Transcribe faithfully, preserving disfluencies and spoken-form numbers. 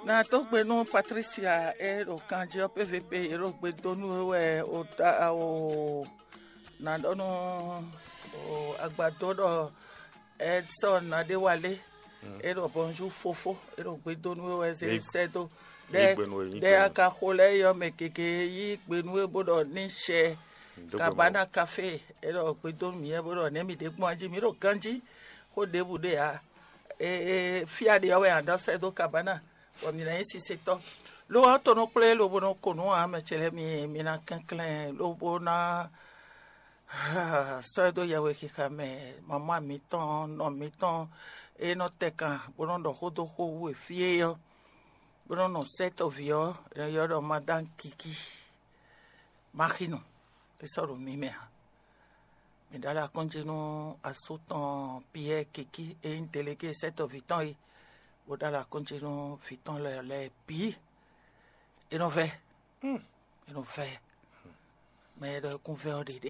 Na dó gbe nú Patricia e ɖo kanjí ɔ́, P V P e ɖo gbe dó nú we wɛ o ta o na ɖɔ nú o agbadó ɖɔ Edson Nadéwalé e ɖɔ bonjour fofo e ɖo gbe dó nú we wɛ zé sɛ́ dó ɖɛ ɖɛ akaxo lɛ́ɛ yɔ mɛ gěgé yí gbe nú we bó ɖɔ ní sɛ Kabana Café e ɖɔ gbe dó nú mǐ bó ɖɔ nɛ̌ mǐ ɖe gbɔn jí mǐ ɖo ganjí xó ɖěbǔ ɖe ǎ. Fí a ɖe ɔ́ wɛ a nɔ sɛ́ dó Kabana bɔ mǐ ná nyí sisetɔ́. Lo ɔ́ to nɔ kplé lobo nɔ ko nǔ ǎ, mɛ ce lɛ́ɛ mi mi ná kɛnklɛ́n lobo ná sɔ́ ɛ dó yɛhwexixa mɛ. Mamá mǐtɔn nɔ mǐtɔn e nɔ tɛ kan bó nɔ ɖɔ xó dó xó wú e fí é ɔ́, bó nɔ nɔ sɛ́ tɔ́ví ɔ́, è nɔ ylɔ́ ɖɔ Madame Kiki Maxinu. É sɔ́ ɖo mi mɛ ǎ. Mǐ ɖó alɔ akɔ́njí nú asú tɔn Piyɛ́ɛ Kiki e nyí delegé sɛ́ tɔ́ví tɔn é, bó ɖó alɔ akɔ́njí nú vǐ tɔn lɛ́ɛ lɛ́ɛ bǐ. É nɔ vɛ́, é nɔ vɛ́. Mɛ e ɖɔ kún vɛ́ ɔ́ ɖe ɖe.